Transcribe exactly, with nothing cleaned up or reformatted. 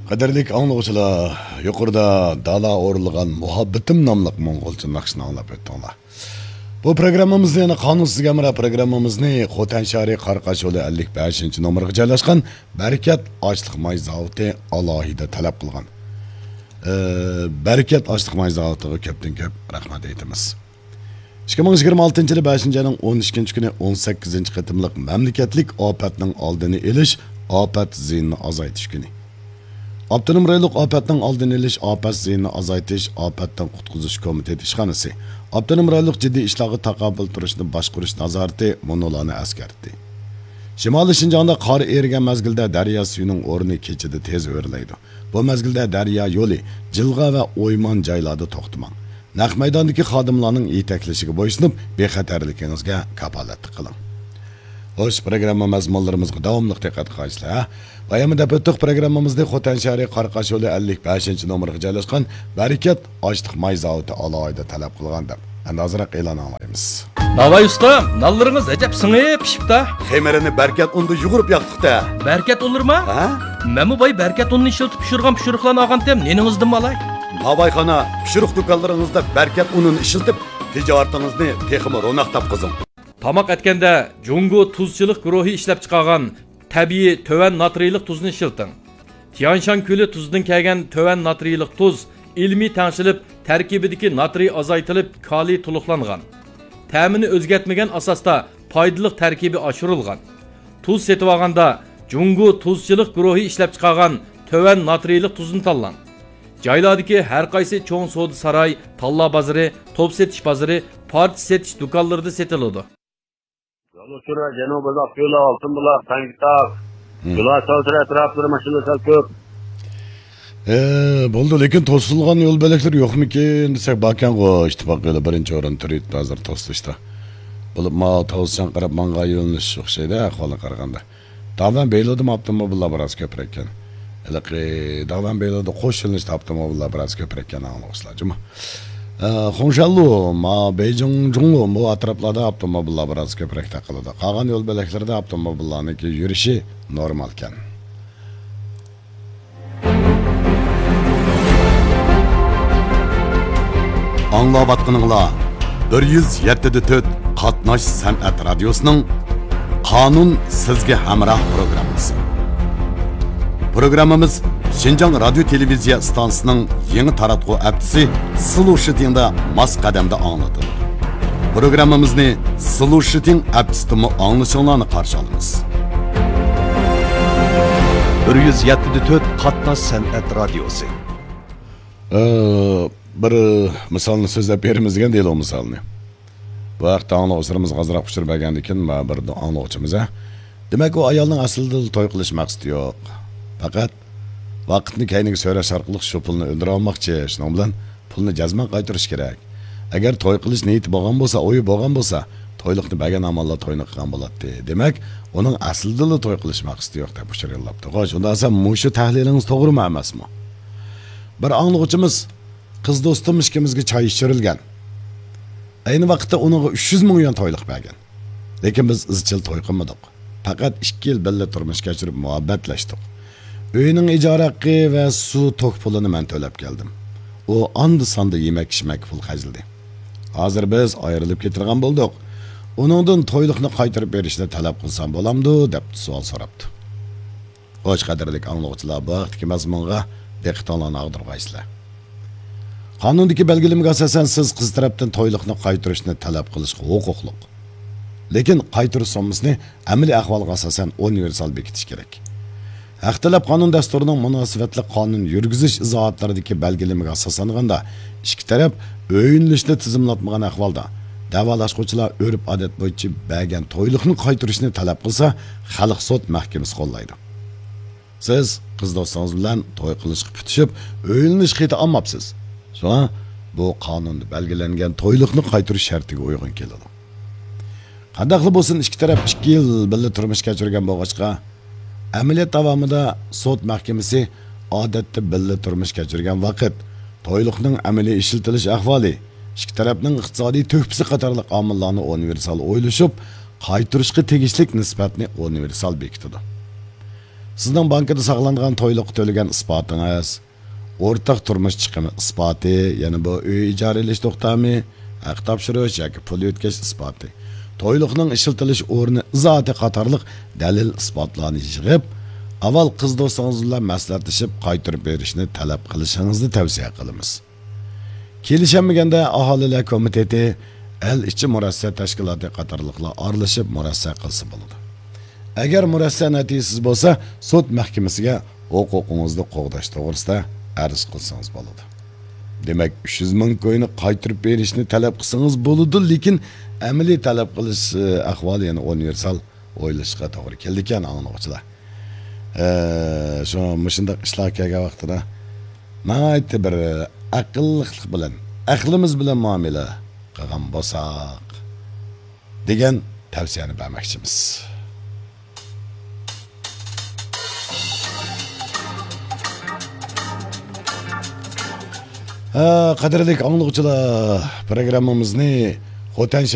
قەدىرلىك ئاڭلىغۇچىلار، يۇقىرىدا دالا ئورۇنلىغان مۇھەببىتىم ناملىق موڭغۇلچە ناخشىنى ئاڭلاپ ئۆتتۈڭلار. بۇ پروگراممىمىزنى، يەنى قانۇنسىز ھەمراھ پروگراممىمىزنى خوتەن شەھىرى قاراقاش يولى ئەللىك بەشىنچى نومۇرغا جايلاشقان بەرىكەت ئاشلىق ماي زاۋۇتى ئالاھىدە تەلەپ قىلغان. ئى، بەرىكەت ئاشلىق ماي زاۋۇتىغا كۆپتىن كۆپ رەھمەت ئېيتىمىز. ئىككى مىڭ يىگىرمە ئالتىنچى يىلى بەشىنچى ئاينىڭ ئون ئىككىنچى كۈنى ئون سەككىزىنچى قېتىملىق مەملىكەتلىك ئاپەتنىڭ ئالدىنى ئېلىش، ئاپەت زىيىنىنى ئازايتىش كۈنى. ئاپتونوم رايونلۇق ئاپەتنىڭ ئالدىنى ئېلىش، ئاپەت زىيىنىنى ئازايتىش، ئاپەتتىن قۇتقۇزۇش كومىتېتى ئىشخانىسى ئاپتونوم رايونلۇق جىددىي ئىشلارغا تاقابىل تۇرۇشنى باشقۇرۇش نازارىتى مۇنۇلارنى ئەسكەرتتى. شىمالىي شىنجاڭدا قار ئېرىگەن مەزگىلدە دەريا سۈيىنىڭ ئورنى كېچىدە تېز ئۆرلەيدۇ. بۇ مەزگىلدە دەريا يولى، جىلغا ۋە ئويمان جايلاردا توختىماڭ. نەق مەيداندىكى خادىملارنىڭ يېتەكلىشىگە بويسۇنۇپ، بىخەتەرلىكىڭىزگە كاپالەتلىك قىلىڭ. خوش، پروگرامما مەزمۇنلىرىمىزغا داۋاملىق دىققەت قىلغايسىلەر، ھە؟ باياممۇ دەپ ئۆتتۇق، پروگراممىمىزنى خوتەن شەھىرى قاراقاش يولى ئەللىك بەشىنچى نومۇرغا جايلاشقان بەرىكەت ئاشلىق ماي زاۋۇتى ئالاھىدە تەلەپ قىلغان دەپ. ئەمدى ئازراق ئېلان ئاڭلايمىز. ناۋاي ئۇستا، نانلىرىڭىز ئەجەب سىڭىپ پىشىپتا. خېمىرىنى بەركەت ئۇندا يۇغۇرۇپ ياقتۇق-تە. بەركەت ئۇنلىرىما؟ ھە؟ مەنمۇ باي بەركەت ئۇنىنى ئىشلىتىپ پىشۇرغان پىشۇرۇقلارنى ئالغانتىم، نېنىڭىزدىنمۇ ئالاي؟ ناۋايخانا، پىشۇرۇق دۇكانلىرىڭىزدا بەركەت ئۇنىنى ئىشلىتىپ، تىجارىتىڭىزنى تېخىمۇ روناق تاپقۇزۇڭ. تاماق ئەتكەندە جۇڭگو تۇزچىلىق گۇرۇھى ئىشلەپچىقارغان تەبىئىي تۆۋەن ناترىيلىق تۇزنى ئىشلىتىڭ. تيەنشان كۆلى تۇزىدىن كەلگەن تۆۋەن ناترىيلىق تۇز ئىلمىي تەڭشىلىپ، تەركىبىدىكى ناترىي ئازايتىلىپ، كالىي تولۇقلانغان. تەمىنى ئۆزگەرتمىگەن ئاساستا پايدىلىق تەركىبى ئاشۇرۇلغان. تۇز سېتىۋالغاندا جۇڭگو تۇزچىلىق گۇرۇھى ئىشلەپچىقارغان تۆۋەن ناترىيلىق تۇزنى تاللاڭ. جايلاردىكى ھەر قايسى چوڭ سودا ساراي، تاللا بازىرى، توپ سېتىش بازىرى، پارچە سېتىش دۇكانلىرىدا سېتىلىدۇ. يول ئۇچۇرى جەنۇبىي بۇلاق كۆلى، ئالتۇن بۇلاق، تەڭكىتاغ، مم. جۇلا سەۋتىرى ئەتراپلىرى ماشىنىلار سەل كۆپ. ئە، بولدى، لېكىن توسۇلغان يول بۆلەكلىرى يوقمىكىن دېسەك، باركەنغۇ، ئىتتىپاق يولى بىرىنچى ئورۇن تۇرۇۋېتىپتۇ ھازىر توسۇلۇشتا. بولۇپمۇ توسۇشقا قاراپ ماڭغان يۆنىلىش ئوخشايدۇ ئەھۋالغا قارىغاندا. داۋەن بېيلۇدىمۇ ئاپتوموبىللار بىراز كۆپرەككەن. ھېلىقى داۋەن بېيلۇدا قوش يۆنىلىشتە ئاپتوموبىللار بىراز كۆپرەككەن ئاڭلىغۇچىلار جۇمۇ. ئە، خۇڭشەنلۇ، ما بېيجىڭ جۇڭلۇ بۇ ئەتراپلاردا ئاپتوموبىللار بىراز كۆپرەك تاقىلىدۇ. قالغان يول بۆلەكلىرىدە ئاپتوموبىللارنىڭكى يۈرۈشى نورمالكەن. ئاڭلاۋاتقىنىڭلار بىر يۈز يەتتە دە تۆت قاتناش سەنئەت رادىيوسىنىڭ قانۇن سىزگە ھەمراھ پروگراممىسى. پروگراممىمىز شىنجاڭ رادىيو تېلېۋىزىيە ئىستانسىسىنىڭ يېڭى تاراتقۇ ئەپچىسى سلۇشىتىڭدا ماس قەدەمدە ئاڭلىتىلىدۇ. پروگراممىمىزنى سلۇشىتىڭ ئەپچىسىدىمۇ ئاڭلىشىڭلارنى قارشى ئالىمىز. بىر يۈز يەتتە دە تۆت قاتناش سەنئەت رادىيوسى. ئى، بىر مىسالنى سۆزلەپ بېرىمىز دېگەن دېلو مىسالنى. بۇ ھەقتە ئاڭلىغۇچىلىرىمىزغا ئازراق ئۇچۇر بەرگەندىكىن، مانا بىر ئاڭلىغۇچىمىز، ھە. دېمەك، ئۇ ئايالنىڭ ئەسلىدىلا توي قىلىش مەقسىتى يوق. پەقەت ۋاقىتنى كەينىگە سۆرەش ئارقىلىق شۇ پۇلنى ئۆلدۈرۈۋالماقچى، شۇنىڭ بىلەن پۇلنى جەزمەن قايتۇرۇش كېرەك. ئەگەر توي قىلىش نىيىتى بولغان بولسا، ئويى بولغان بولسا، تويلۇقنى بەرگەن ئامانلا توينى قىلغان بولاتتى. دېمەك، ئۇنىڭ ئەسلىدىلا توي قىلىش مەقسىتى يوق دەپ ئۇچۇر يوللاپتۇ. خوش، ئۇنداق دېسە مۇشۇ تەھلىلىڭىز توغرىمۇ ئەمەسمۇ؟ بىر ئاڭلىغۇچىمىز، قىز دوستۇم ئىككىمىزگە چاي ئىچۈرۈلگەن. ئەينى ۋاقىتتا ئۇنىڭغا ئۈچ يۈز مىڭ يۈەن تويلۇق بەرگەن. لېكىن بىز ئىزچىل توي قىلمىدۇق. پەقەت ئىككى يىل بىللە تۇرمۇش كەچۈرۈپ مۇھەببەتلەشتۇق. ئۆينىڭ ئىجارە ھەققى ۋە سۇ توك پۇلىنى مەن تۆلەپ كەلدىم. ئۇ ئاندا-ساندا يېمەك-ئىچمەككە پۇل خەجلىدى. ھازىر بىز ئايرىلىپ كېتىدىغان بولدۇق. ئۇنىڭدىن تويلۇقنى قايتۇرۇپ بېرىشنى تەلەپ قىلسام بولامدۇ؟ دەپ سوئال سوراپتۇ. خوش، قەدىرلىك ئاڭلىغۇچىلار، بۇ ھەقتىكى مەزمۇنغا دىققىتىڭلارنى ئاغدۇرغايسىلەر. قانۇندىكى بەلگىلىمىگە ئاساسەن، سىز قىز تەرەپتىن تويلۇقنى قايتۇرۇشنى تەلەپ قىلىشقا ھوقۇقلۇق. لېكىن قايتۇرۇش سوممىسىنى ئەمەلىي ئەھۋالغا ئاساسەن ئۇنىۋېرسال بېكىتىش كېرەك. ھەق تەلەپ قانۇن دەستۇرىنىڭ مۇناسىۋەتلىك قانۇن يۈرگۈزۈش ئىزاھاتلىرىدىكى بەلگىلىمىگە ئاساسلانغاندا، ئىككى تەرەپ ئۆيلىنىشنى تىزىملاتمىغان ئەھۋالدا، دەۋالاشقۇچىلار ئۆرپ-ئادەت بويىچە بەرگەن تويلۇقنى قايتۇرۇشنى تەلەپ قىلسا، خەلق سوت مەھكىمىسى قوللايدۇ. سىز قىز دوستىڭىز بىلەن توي قىلىشقا پۈتۈشۈپ، ئۆيلىنىش خېتى ئالماپسىز. شۇڭا بۇ قانۇندا بەلگىلەنگەن تويلۇقنى قايتۇرۇش شەرتىگە ئۇيغۇن كېلىدۇ. قانداقلا بولسۇن، ئىككى تەرەپ ئىككى يىل بىللە تۇرمۇش كەچۈرگەن بولغاچقا، ئەمەلىيەت داۋامىدا سوت مەھكىمىسى ئادەتتە بىللە تۇرمۇش كەچۈرگەن ۋاقىت، تويلۇقنىڭ ئەمەلىي ئىشلىتىلىش ئەھۋالى، ئىككى تەرەپنىڭ ئىقتىسادىي تۆھپىسى قاتارلىق ئامىللارنى ئۇنىۋېرسال ئويلىشىپ، قايتۇرۇشقا تېگىشلىك نىسبەتنى ئۇنىۋېرسال بېكىتىدۇ. سىزنىڭ بانكىدا ساقلانغان تويلۇققا تۆلىگەن ئىسپاتىڭىز، ئورتاق تۇرمۇش چىقىمى ئىسپاتى، يەنى بۇ ئۆي ئىجارە ئېلىش توختامى، ھەق تاپشۇرۇش ياكى پۇل يۆتكەش ئىسپاتى، تويلۇقنىڭ ئىشلىتىلىش ئورنى ئىزاھاتى قاتارلىق دەلىل ئىسپاتلارنى يىغىپ، ئاۋۋال قىز دوستىڭىز بىلەن مەسلىھەتلىشىپ قايتۇرۇپ بېرىشنى تەلەپ قىلىشىڭىزنى تەۋسىيە قىلىمىز. كېلىشەلمىگەندە ئاھالىلەر كومىتېتى، ئەل ئىچى مۇرەسسە تەشكىلاتى قاتارلىقلار ئارىلىشىپ مۇرەسسە قىلسا بولىدۇ. ئەگەر مۇرەسسە نەتىجىسىز بولسا، سوت مەھكىمىسىگە ھوقۇقىڭىزنى قوغداش توغرىسىدا ئەرز قىلسىڭىز بولىدۇ. دېمەك، ئۈچ يۈز مىڭ كوينى قايتۇرۇپ بېرىشنى تەلەپ قىلسىڭىز بولىدۇ، لېكىن ئەمەلىي تەلەپ قىلىش، ئە، ئەھۋالى يەنە ئۇنىۋېرسال ئويلىشىشقا توغرا كېلىدىكەن، ئاڭلىغۇچىلار. ئە، شۇ مۇشۇنداق ئىشلار كەلگەن ۋاقتىدا ناھايىتى بىر ئەقىللىقلىق بىلەن، ئەقلىمىز بىلەن مۇئامىلە قىلغان بولساق، دېگەن تەۋسىيەنى بەرمەكچىمىز. ھە، قەدىرلىك ئاڭلىغۇچىلار، پروگراممىمىزنى خوتەن